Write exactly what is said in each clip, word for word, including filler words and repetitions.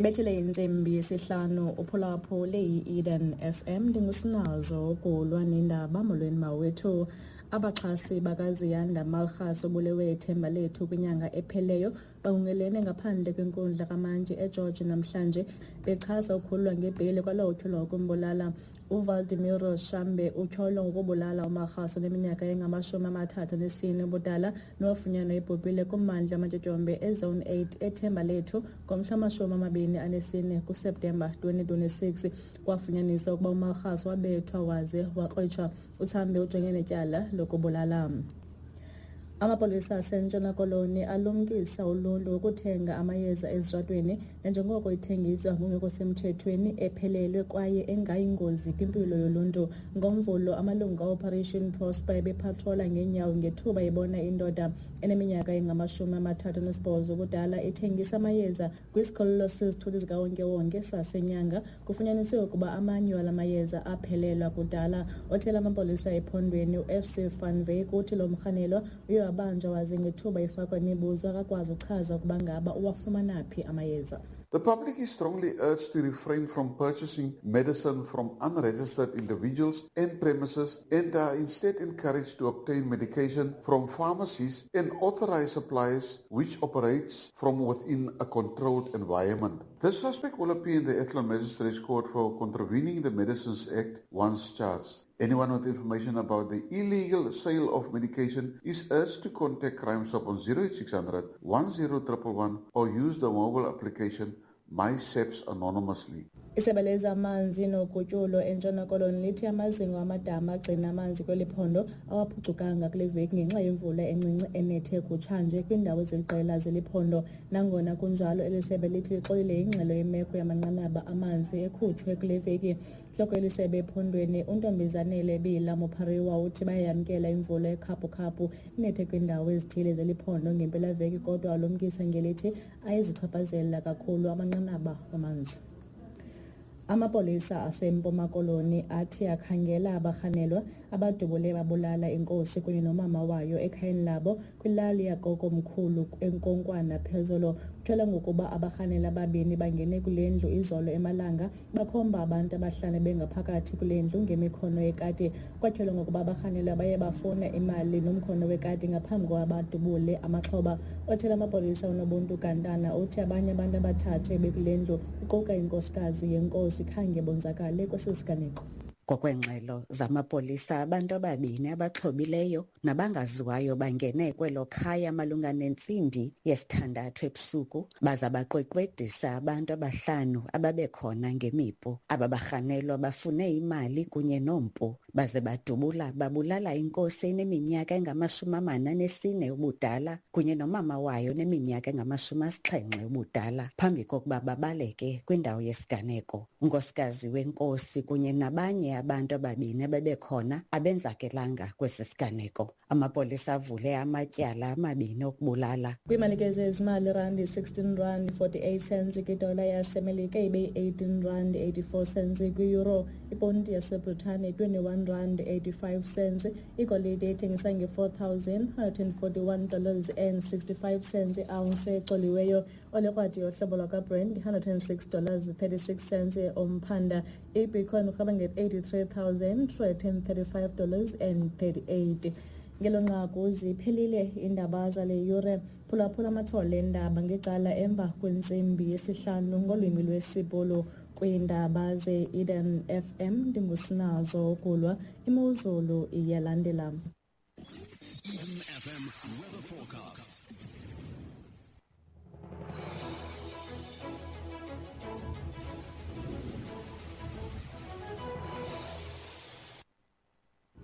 Ibethile intsimbi yesihlanu uphulaphule i-Eden F M. Ndingusinazo ukulwa nendaba. Molweni mawethu. Abaxhasi bakaZiyanda Malgas obulewe ithemba lethu kwinyanga epheleyo bangungelene ngaphandle kwenkundla kaMantyi eGeorge namhlanje bechasa ukukhululwa ngebheyile kwalowo utyholwa ukumbulala. uValdemiro Shambe utyholwa ngokubulala uMarhasi oneminyaka engamashumi amathathu anesine ubudala nowafunyanwa ebhubhile kummandla wamatyotyombe eZone eight eThemba Lethu ngomhla wamashumi amabini anesine kuSeptemba twenty twenty-six. Kwafunyaniswa ukuba uMarhasi wabethwa waze wakrwitshwa. UThambe ujongene netyala lokubulala. Amapolisa aseNtshona Koloni alumkisa uluntu ukuthenga amayeza ezitratweni nanjengoko ithengiswa ngokungekho semthethweni ephelelwe kwaye engayingozi kwimpilo yoluntu. NgoMvulo, amalungu ka-Operation Prosper ebepatrola ngeenyawo ngethuba ebona indoda eneminyaka engamashumi amathathu anesibhozo ubudala ithengisa amayeza kwisikhululo sezithuthi zikawonkewonke saseNyanga. Kufunyaniswe ukuba amanye wala mayeza aphelelwa kudala. Othela amapolisa ephondweni u-F C Van Wyk uthi lo mrhanelwa uye wabanjwa waze ngethuba efakwa imibuzo akakwazi ukuchaza ukuba ngaba uwafumana phi amayeza. The public is strongly urged to refrain from purchasing medicine from unregistered individuals and premises and are instead encouraged to obtain medication from pharmacies and authorized suppliers which operates from within a controlled environment. The suspect will appear in the Athlone Magistrates Court for contravening the Medicines Act once charged. Anyone with information about the illegal sale of medication is urged to contact Crime Stop on zero eight six hundred, one zero one one one or use the mobile application MySAPS anonymously. Isebe lezamanzi nogutyulo eNtshona Koloni lithi amazingo amadama agcina amanzi kweli phondo awaphucukanga kule veki ngenxa yemvula encinci enethe kutshanje kwiindawo eziliqela zeli phondo. Nangona kunjalo, eli sebe lithi lixolile ingxelo yemeko yamanqanaba amanzi ekhutshwe kule veki. Intloko yeli sebe ephondweni uNtombizanele Bila Mopariwa uthi bayayamkela imvula ekhaphukhaphu inethe kwiindawo ezithile zeli phondo ngempelaveki, kodwa alumkisa ngelithi ayizichaphazela kakhulu amanqanaba amanzi. Amapolisa aseMpuma Koloni athi akhangela abarhanelwa abadubule babulala inkosi kunye nomama wayo ekhayeni labo kwilali yakokomkhulu eNkonkwana phezolo. Kutyholwa ngokuba abarhanelwa ababini bangene kule ndlu izolo emalanga bakhomba abantu abahlanu bengaphakathi kule ndlu ngemikhono yekati. Kwatyholwa ngokuba abarhanelwa baye bafuna imali nomkhono wekati ngaphambi kokuba badubule amaxhoba. Othela amapolisa uNobuntu Gantana uthi abanye abantu abathathu ebekule ndlu kuquka inkosikazi yenkosi khange bonzakale kwesi siganeko. Ngokwengxelo zamapolisa, abantu ababini abaxhobileyo nabangaziwayo bangene kwelo khaya malunga nentsimbi yesithandathu ebusuku baza baqweqwedisa abantu abahlanu ababekhona ngemipu. Aba barhanelwa bafune imali kunye nompu baze badubula babulala inkosi eneminyaka engamashumi amane anesine ubudala kunye nomama wayo neminyaka engamashumi asixhenxe ubudala phambi kokuba babaleke kwindawo yesiganeko. Unkosikazi wenkosi kunye nabanye abantu ababini abebekhona abenzakelanga kwesi siganeko. Amapolisa avule amatyala amabini okubulala. Kwiimali zezimali, randi sixteen rand forty-eight cents kwidola yaseMelika ibe eighteen rand eighty-four cents kwi-euro. Iponti yaseBritane twenty-one rand eighty-five cents. Igolide ithengisa nge-four thousand one hundred and forty-one dollars and sixty-five cents i-ounce ecoliweyo. Olekrwadi yohlobo lwakwaBrent one hundred and six dollars thirty-six cents umphanda. Ibitcoin urhaba nge-eighty-three thousand three hundred and thirty-five dollars and thirty-eight. Ngelo nqaku ziphelile iindaba zale yure. Phulaphula amathole eendaba ngecala emva kwentsimbi yesihlanu ngolwimi lwesiBhulu. Kwiindaba ze-Eden F M ndingusinazo ukulwa. Imozulu iyalandela. Eden F M weather forecast.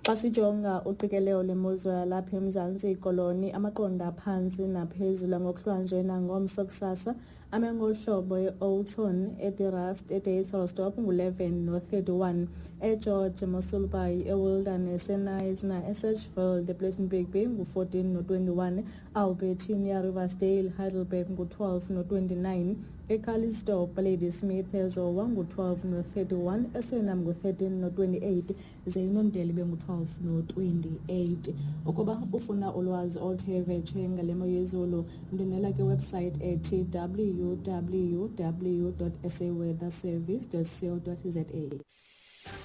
Xa sijonga uqikelelo lwemozulu yalapha eMzantsi Koloni, amaqondo aphantsi naphezulu ngokuhlwanje nangomso kusasa ame ngohlobo e-Olton, eDerust, eDeyselsdorp ngu-eleven no-thirty-one, eGeorge, Mossel Bay, eWilderness, eKnysna, eSedgefield, ePlettenberg Bay ngu-fourteen no-twenty-one, Albertinia, Riversdale, Heidelberg ngu-twelve no-twenty-nine, eCalitzdorp, Ladysmith, eZowa ngu-twelve no-thirty-one, eSuriname ngu-thirteen no-twenty-eight, ze iNondeli bengu-twelve. twelve no-twenty-eight. Ukuba ufuna ulwazi oluthe vetshe ngale mo yezulu, ndwendwela kwiwebsite ethi w w w dot s a weather service dot co dot za.